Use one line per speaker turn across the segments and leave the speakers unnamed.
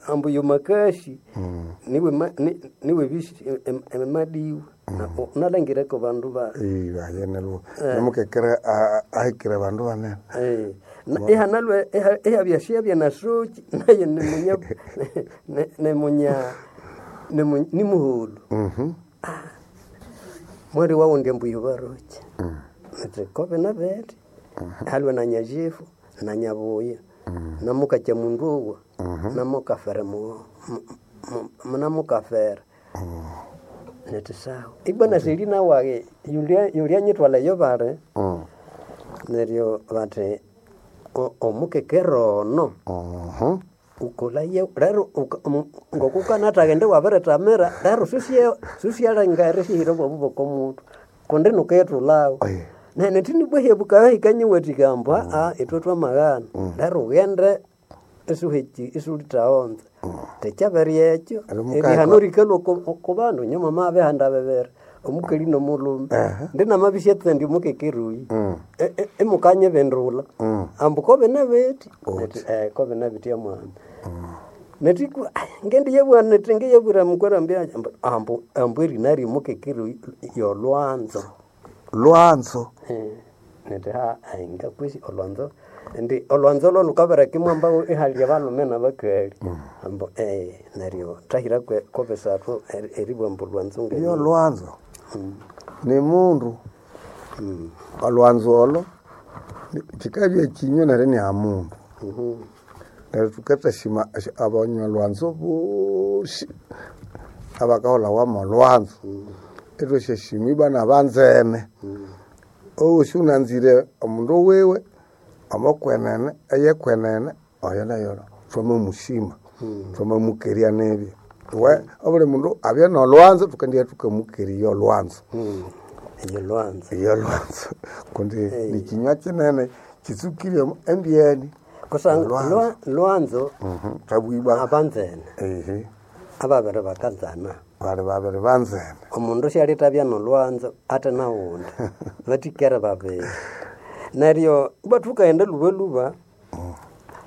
ambu yo makashi niwe niwe bishi emadiwe nalangireko bandu ba
ayenelwo nomukekere ahikire bandu banene.
Ihanalwe ihabyashyabya nasoki naye nimunya nimunya nimuhulu. Mweri wawundi ambu yobaroki nti kobe nabete halwe na nyajifu na nyabuya namukakya mundu owa namukafere namukafere neti sawa ibwa naselina wage yulia nyitwala yo bale neryo bati omukekero ono ukolaye rero ngokukanatagende wabirithamira rero susyalengere sihire bwabu bwokomutu kundi nuketulawo nene bwehebukahikanyewethika ambu aa ithwe twamaghana rero ughende isuheki isulithaghonza tekyabere ekyo erihano rikalhwa ku bandu nyuma mabihanda bibiri omukali nomulhume ndinamabisya tsendi omukekeruyi imukanyibindulha ambu kobine bithi kobine bithi amwami netikwa ngendiyabugha nithi ngiyabwira mukwerambya ambu ambu erina ryomukekeruyi yolwanzo.
Lwanzo.
Nithi ha ngakwesi olwanzo ndi olwanzo lwo lukabireka imwamba ihalya balhume nabakali ambu neryo thahira kobisathu eribugha ambu olwanzo
Iyo lwanzo ni mundu olwanzo olo kikabya ekinywa neryo iniha mundu neryo thukathasima abanyalwanzo bosi abakaholhawa molwanzo ithwasyasima ibwa nabanzene owosi wunanzire omundu wiwe omokwenene eyekwenene oyo nayo thwamamusima thwamamukerya nibya we obuli mundu abye nolwanzo thukandiya thukamukerya olwanzo.
Eyo lwanzo.
Iyo lwanzo kundi nikinywa kinene kitsukire embyeni.
Kusangwa lwanzo
Thwabugha
abanzene ababiri bakanzana
bali babiri banzene.
Omundu syalithabya nolwanzo ate nawundi bathikere babiri neryo ibwa thukaghenda lhubalhuba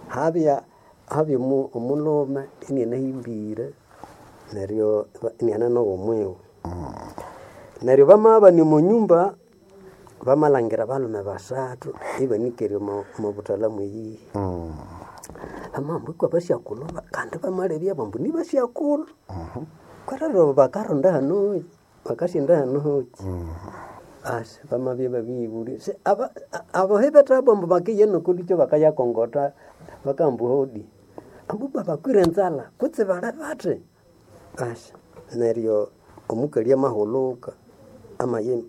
habya habya omulhume inianahimbire neryo iniane noghomwiwe neryo bamabana omo nyumba bamalhangira balhume basathu ibanikere omo buthalha mweyihi. Bamabugha ambu iko abasyakulhu kandi bamalebya ambu nibasyakulhu kwerero bakaronda hano bakasyenda hano hoki asi bamabya babiribulya abohi bethabwa ambu bakiya nokolhukyo bakayakongotha bakamba hodi ambu ibwa bakwire enzalha kutse bali bathi asi neryo omukali amahulhuka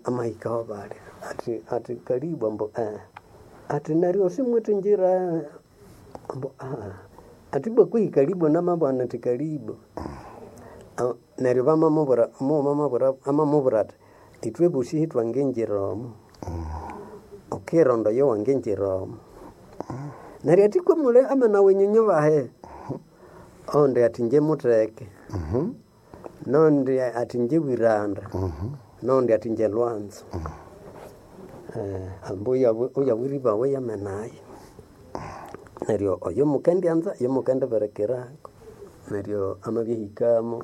amahika aho bali athi athi kalibu ambu athi neryo simwithingira ambu athi ibwa kwehi kalibu namabugha nithi kalibu neryo bamamubwira omughuma amamubwira athi ithwe bosi ithwangingira omo wukironda oyowangingira omo neryo athi kwamuli amana wenyinyu bahi owundi athi ingye mutheke nowundi athi ingye wiranda nowundi athi ingye lwanzo ambu oyawiribawa yamenayo neryo oyo mukendyanza oyo mukendibirikirako neryo amabya ahikamo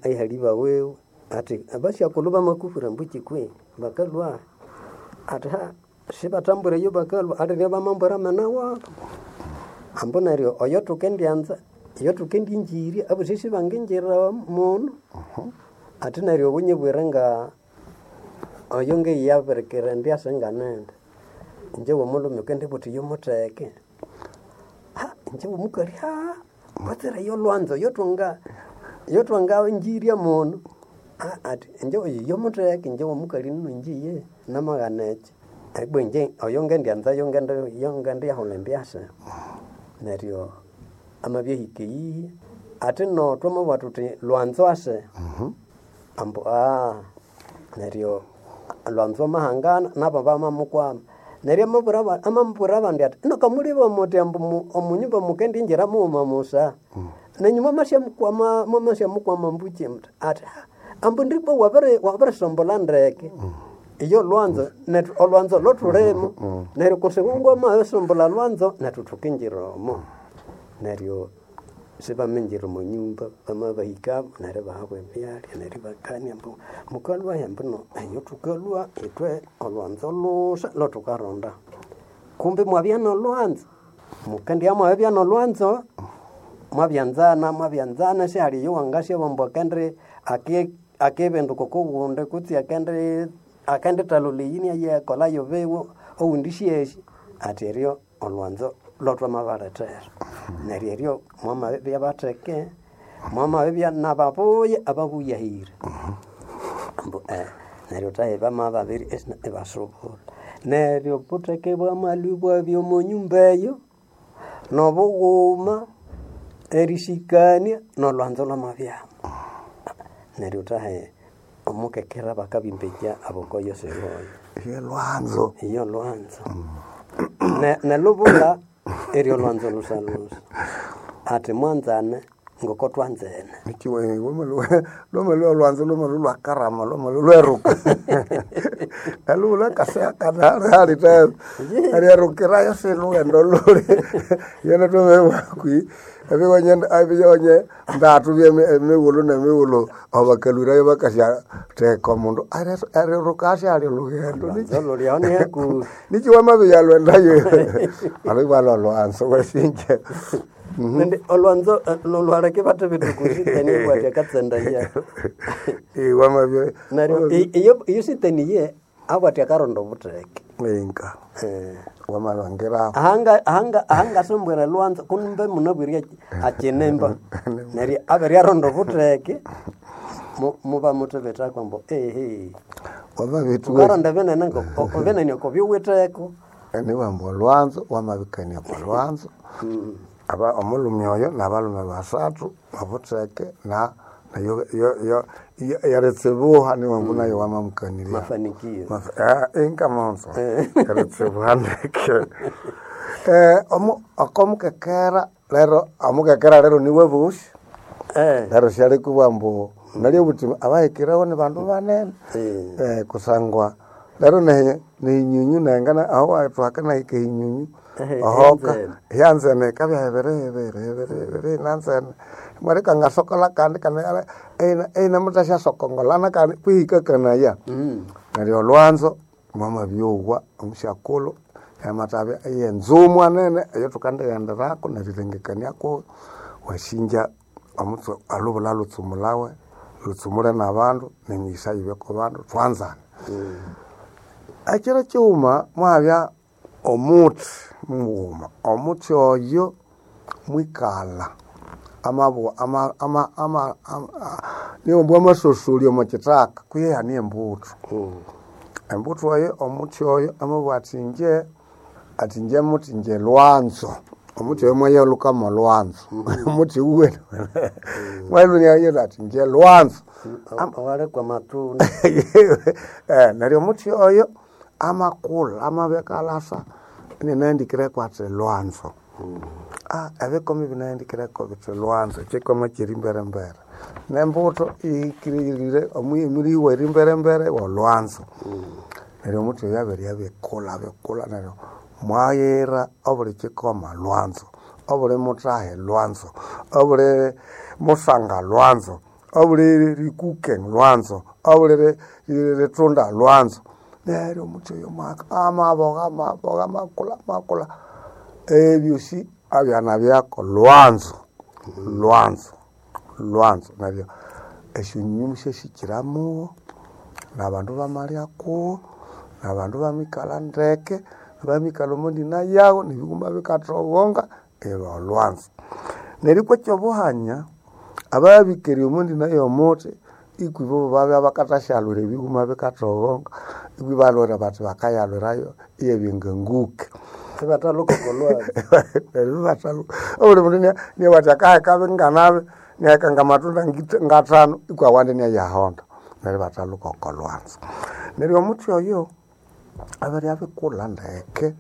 ihali bawiwe athi abasyakulhu bamakufura ambu kwi bakalhwa athi ha sibathambwire eyo bakalhwa athi ryo bamambwira amena wabu ambu neryo oyo thukendyanza oyo thukendingirya abosi sibangingira munu athi neryo wunyibwire nga oyo ngeyabirikira indyasa nganindi inje womulhume wukendibugha wuthi yomutheke ha inje womukali ha watsire yolwanzo yothwanga yothwangangirya munu athi inje oyo yomutheke inje womukali nino injiye namaghana ekyo ibwa inje oyo ngendyanza yongendiyahulha embyasa neryo amabya ahika eyihi athi no twamabugha thuthi lwanzo ase ambu neryo lwanzo amahangana nabo bamamukwama neryo amamubwira abandi athi ino kamulibwa muthi ambu omunyumba mukendingira mughuma musa nenyu mwamasyamukwama mwamasyamukwama mbuki athi ambu ndibwa wabirisombolha ndeke iyo lwanzo nethu olwanzo lothulimu neryo kusingwa wamabisombolha lwanzo nethu thukingira omo neryo Sibaminjira omo nyumba, bamabahikamo neryo ibahabwa ebyalya neryo ibakania ambu mukalhwahi ambu no eyo thukalhwa ithwe olhwanzo lhusa lwathukaronda. Kumbe mwabya nolhwanzo, mukendibya mwabibya nolhwanzo, mwabyanzana mwabyanzana sihali oyowangasyabugha ambu akendi akibinduka okowundi kutse akendi akendithalhulha eyi inayakolha yobiwe owundi isyasi, athi eryo olhwanzo lwathwamabalethera. Neryo eryo mwamabibya batheke, mwamabibya nababuya ababuyahire. Ambu neryo thahi bamababiri ibasubura. Neryo obutheke bwamalhwa ibwabya omo nyumba eyo, nobughuma, erisikania, nolhwanzo lwamabyamu. Neryo thahi omukekera bakabimbikya abokoyo siboyo.
Ye lwanzo.
Iyo lwanzo. Nelubulha eryo lwanzo lhusa-lhusa. Athi mwanzane ngoko twanzene.
Lwamalhwa olwanzo lwamalhwa lwakarama lwamalhwa lweruka. Nalubulha akasaya kanali tena. Eryerukirayo silhughenda lhuli. Yene thwamabibugha kwihi ebighonye ndatu byemighulhu nemighulhu abakalhwirayo bakasyatheka omundu eriruka asyalya olhughendo.
Olhwanzo lhuli aho ni hakuhi.
Nikyi wamabiyalwendayo alibwa lolwanzo wasinja.
Nindi olhwanzo lwaleka ibathibitha okusitani ibwathi akatsendaya.
Wamabya
Neryo iyo iyo sitani ye abwathi akaronda obutheke.
Inga wamalhangira
Ahanga ahanga ahangasombwera lwanzo kumbe munabwire akinimba. Neryo abiryaronda obutheke mubamuthibithako ambu ehe.
wamabithuwa
Wukaronda binene binene okobyuwitheko.
niwamba olwanzo wamabikania okwa lwanzo aba omulhume oyo nabalhume basathu obutheke na eritsibuha niwamba nayo wamamukanirya.
Mafanikio.
Inga monzo eritsibuha ndeke. Okomukekera lero omukekera lero niwe bosi lero syalikubugha ambu nalyo obuthi abahikireho ni bandu banene kusangwa lero nehinyunyu nengana aho thuhakanahika ehinyunyu ohoka hyanzene yikabya hibiri hibiri hibiri hibiri inanzene imwaleka ngasokolha kandi kandi inamuthasyasokongolana kandi kwihikakanaya. Neryo olhwanzo mwamabyowa omusyakulhu yamathabya eyenzumwa nene eyathukandighenderako nerirengekaniako wasinja omutse alubulha lhutsumulhawe lhutsumule nabandu nemigisa yibye kubandu thwanzane. Ekyiro kyighuma mwabya omuthi mughuma, omuthi oyo mwikalha amabugha niwamba wamasosolya omo kithaka kwihi hane embuthu. Embuthu eyo omuthi oyo amabugha athi inje muthi inje lwanzo, omuthi oyo mwayalhuka molwanzo omuthi wuwene mwalhwa athi inje lwanzo.
Owali kwamatunda.
Neryo omuthi oyo amakulha amabya akalhasa ininahandikireko athi lwanzo. Ebikomo ibinahandikireko bithi lwanzo kyikomo kyiri mbere mbere. Nembuthu ihikirire emiriwa eri mbere mbere wolwanzo. Neryo omuthi oyo abiribya abikulha abikulha neryo mwayira obuli kyikoma lwanzo, obuli muthahi lwanzo, obuli musanga lwanzo, obuli rikuke lwanzo, obuli rithunda lwanzo. Neryo omuthi oyo amabogha amabogha amakulha amakulha ebyosi abyana byako lwanzo lwanzo lwanzo. Neryo esyonyunyumu syasikiramuwo nabandu bamalyakuwo, nabandu bamikalha ndeke, bamikalha omo ndina yawu nebighuma bikathoghonga ilwa olwanzo. Neryo ikwa ekyobuhanya ababikere omo ndina yomuthi ikwibo babya bakathasyalhwira ebighuma bikathoghonga ikwi ibalhwira bathi bakayalhwirayo iyabya nganguke.
Ibathalhuka oko lwanzo.
Neryo ibathalhuka obuli mundu inabugha athi akaheka binganabi inaheka ngamatunda ngathanu ikwa awandi inayahonda neryo ibathalhuka oko lwanzo. Neryo omuthi oyo abiribya abikulha ndeke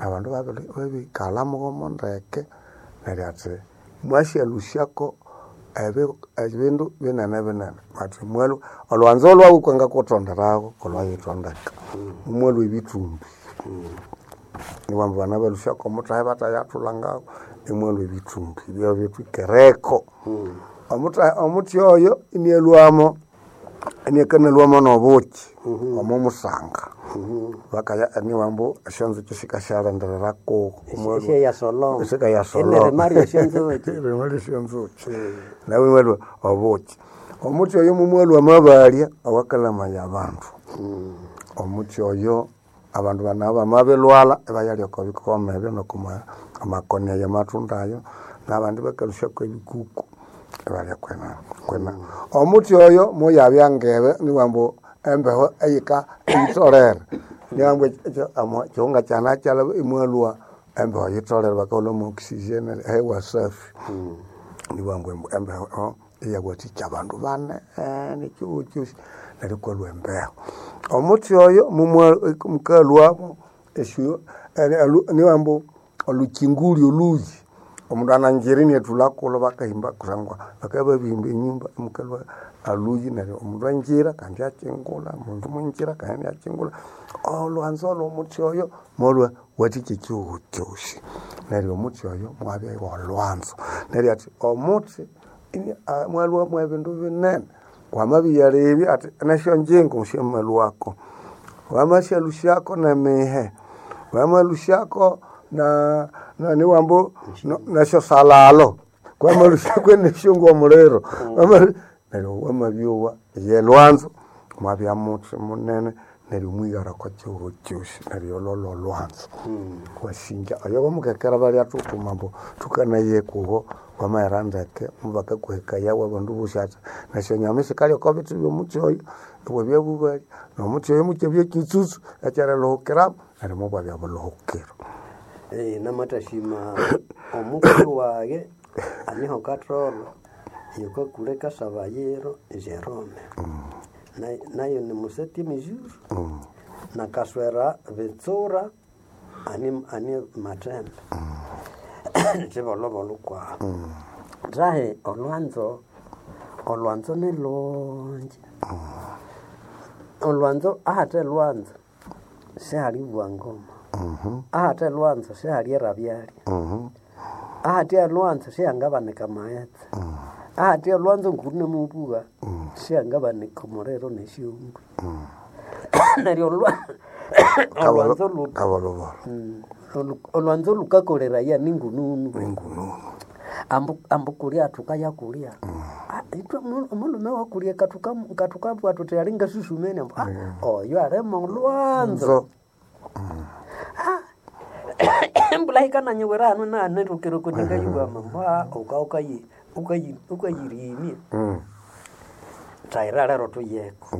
abandu babikalha mughomo ndeke neryo athi mwasyalhusyako ebindu binene binene bathi mwalhwa olhwanzo lhwawu kwangakutonderawo kolhwayithondeka mwalhwa ebithumbi. Niwamba bana balusyako omuthahi batayathulangawo imwalwa ebithumbi ibyabitwikereko. Omuthahi omuthi oyo inialhwamo iniakanalhwamo n'obuki omo musanga. Bakaya niwambu esyonzuki sikasyalindirira kuwo.
Esyayasoloma.
Sikayasoloma.
Enerima esyonzuki.
Erima lyesyonzuki. Nawe imwalhwa obuki. Omuthi oyo mumwalhwa amabalya awakalamaya abandu. Omuthi oyo abandu bana bamabilhwalha ibayalya oko bikoma ebyo noko amakoni ayo amatunda ayo n'abandi bakalhusyako ebikuku ibalya kwena kwena. Omuthi oyo muyabya ngebe niwambu embeho eyika eyitholere. Niwambu ekihunga kyanakyalaba imwalhwa embeho eyitholere bakahulha mwo oxygen hewa safi. Niwambu embeho iyawathikya abandu banene ekihugho kyosi neryo ikwalhwa embeho. Omuthi oyo mukalhwamo esyo niwambu olhukyingulhi olhuyi omundu anangira iniathulha kulho bakahimba kusangwa bakabya babirihimba enyumba imukalhwa alhuyi neryo omundu angira kandi akyingulha, omundu mwingira kandi inakyingulha. Olhwanzo lh'omuthi oyo mwalhwa wathikya ekihugho kyosi. Neryo omuthi oyo mwabya wolhwanzo. Neryo athi omuthi mwalhwa mwebindu binene. Wamabiyalebya athi nesyonjingo syamalhwako, wamasyalusyako n'emihe, wamalhusyako niwambu nesyosalalo, kwamalusyako nesyongu omuliro, neryo wamabyowa ye lwanzo mwabya muthi munene neryo mwigara oko kihugho kyosi neryo olwo lholwanzo. Wasinja oyo bamukekera balya thuthuma ambu thukanaye kubo wamaghera ndeke mubakakuhekaya abandu bosi athi nesyonyama isikalya oko bithi byomuthi oyo ibwabya bubalya n'omuthi oyo mukyabya kyitsutsu ekyerilhuhukiramu neryo mubwabya bulhuhukiro.
Namathasima omukulhu waghe aniho Katholo yukakule Kasabayiro Jerome. Nayo ni mu septième jour na Kaswera Bitsura ani ani Mathembe. Kyibolhobolho kwahu. Thahi olhwanzo, olhwanzo nilhungi. Olhwanzo ahathe lwanzo sihali bwangoma. Ahathe lwanzo sihali erabyalya. Ahathe lwanzo sihangabanika amaghetse. Ahathe lwanzo ng'okunemubugha sihangabanika omuliro nesyongwe. Neryo olhwanzo
Kabolhobolho.
olhwanzo lukakoleraya ningununu.
Ningununu.
Ambu ambu kulya thukayakulya. Ithwe omulhume wakulya kathukabugha thuthi ali ngasusumene ambu oyo alimo olhwanzo.
Nzo.
Embulha yikananyiwira hanu naghana kundi ngayibugha ambu ukayirimya. Thayira lero thuyeko.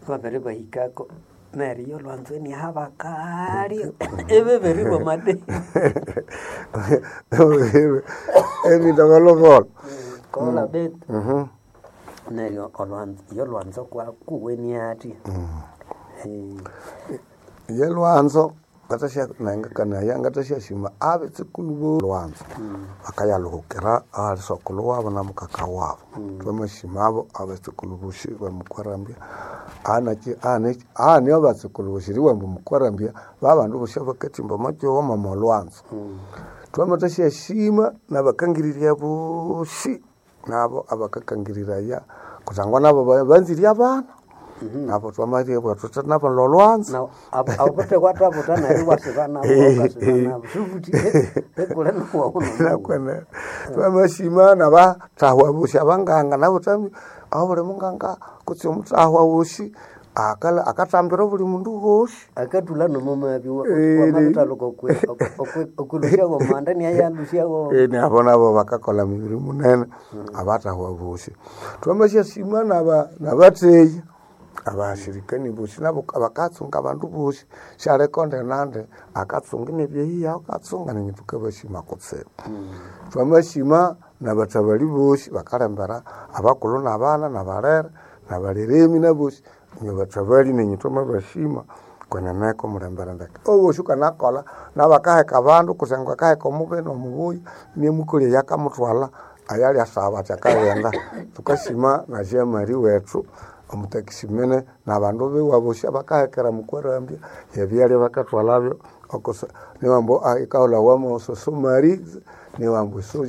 Babiribahikako neryo olhwanzo iniahabakaali ibibirirwa amadeni.
Ebindu bolhobolho.
Kola betu. Neryo olhwanzo yolhwanzo kuweni athi.
Ye lwanzo ngathasya nengakanaya ngathasyasima abetsukulhu bo lwanzo bakayalhuhukira ahali sokulhu wabo na mukaka wabo. Thwamasimabo abetsukulhu bosi bamukwarambya anaki ahani abatsukulhu bosi eriwamba mukwarambya babandu bosi abakathimba omo kihugho mwo lwanzo. Thwamathasyasima nabakangirirya bosi nabo abakakangiriraya kusangwa nabo banzire abana nabo thwamaribugha thuthi nabo lolwanzo.
Awuthe wathabutha neryo iwasiba nabo wukasiba nabo sibuthi ekule nowawu
Nakwene twamasima nabathahwa bosi abanganga nabo thami obuli munganga kutse omuthahwa wosi akalha akathambira obuli mundu wosi.
Akathulha nomomabya wamabithaluka okwilusyawo omanda iniayalusyawo.
Nabo nabo bakakolha mibiri munene abathahwa bosi. Thwamasyasima nabatheya abashirikani bosi nabo bakatsunga abandu bosi syaliko nde akatsunga inabya akatsunga nenyu thukabasima kutsibu. Thwamasima nabathabali bosi bakalembera abakulhu nabana nabalere nabaliremi nabosi inywe bathabali nenyu thwamabasima kweneneko mulembere ndeke. Owosi wukanakolha nabakaheka abandu kusangwa akaheka omubi nomubuya iniamukolya eyakamuthwalha ayalyasaba athi akaghenda. Thukasima na Jean Marie wethu Omutakisimene n'abandu biwe abosi abakahekera mukwarambya ebyalya bakathwalabyo niwambu ikaholhawa mo sosomali niwambu esoja.